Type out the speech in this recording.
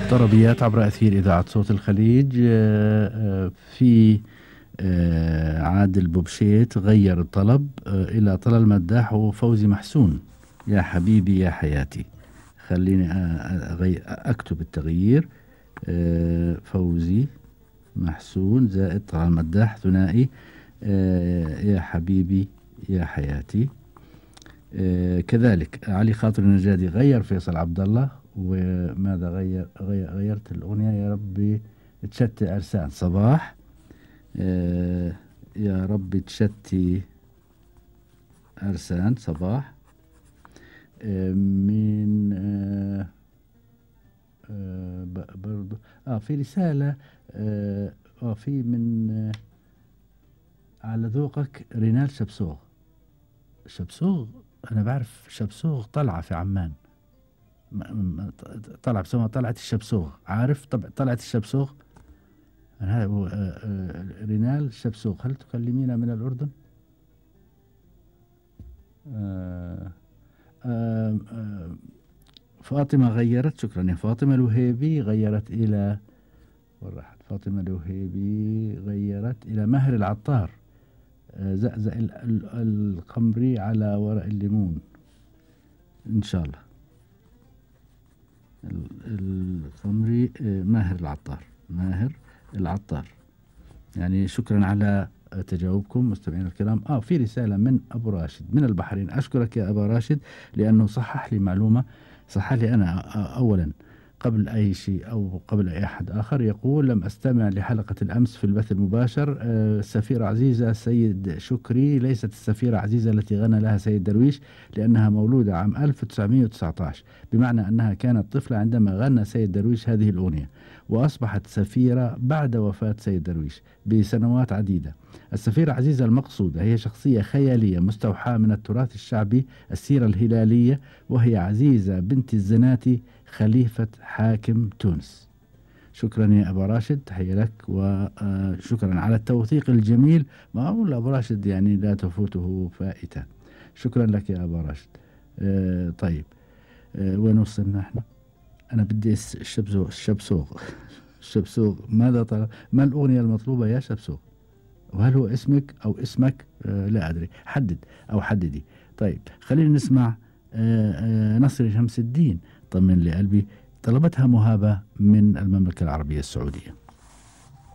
طربيات عبر أثير إذاعة صوت الخليج. في عادل بوبشيت غير الطلب إلى طلال مداح وفوزي محسون. يا حبيبي يا حياتي. خليني أكتب التغيير. فوزي محسون زائد طلال مداح ثنائي. يا حبيبي يا حياتي. كذلك علي خاطر النجادي غير فيصل عبد الله. وماذا غيرت الأغنية يا ربي تشتي أرسان صباح. يا ربي تشتي أرسان صباح. من برضو في رسالة في من على ذوقك رينال شبسوغ. أنا بعرف شبسوغ طلعة في عمان. طلع بسمها طلعة الشبسوغ. عارف طلعة الشبسوغ. رينال شبسوغ. هل تكلمينا من الأردن؟ فاطمة غيرت. شكرا يا فاطمة. الوهيبي غيرت إلى فاطمة الوهيبي غيرت إلى ماهر العطار. زقزق القمري على ورق الليمون إن شاء الله. القمري ماهر العطار. يعني شكرا على تجاوبكم مستمعين الكرام. في رسالة من أبو راشد من البحرين. أشكرك يا أبا راشد لأنه صحح لي معلومة. صحح لي أنا أولا قبل أي شيء أو قبل أي أحد آخر. يقول لم أستمع لحلقة الأمس في البث المباشر. السفيرة عزيزة سيد شكري ليست السفيرة عزيزة التي غنى لها سيد درويش لأنها مولودة عام 1919 بمعنى أنها كانت طفلة عندما غنى سيد درويش هذه الأغنية وأصبحت سفيرة بعد وفاة سيد درويش بسنوات عديدة. السفيرة عزيزة المقصودة هي شخصية خيالية مستوحاة من التراث الشعبي السيرة الهلالية وهي عزيزة بنت الزناتي خليفة حاكم تونس. شكرا يا أبا راشد. تحية لك وشكرا على التوثيق الجميل. ما أقول أبو راشد يعني لا تفوته فائتة. شكرا لك يا أبا راشد. طيب وين وصلنا احنا؟ أنا بدي الشبسوغ ماذا طلب؟ ما الأغنية المطلوبة يا شبسوغ؟ وهل هو اسمك أو اسمك؟ لا أدري. حدد أو حددي. طيب خلينا نسمع نصر شمس الدين طمن لي قلبي. طلبتها مهابة من المملكة العربية السعودية.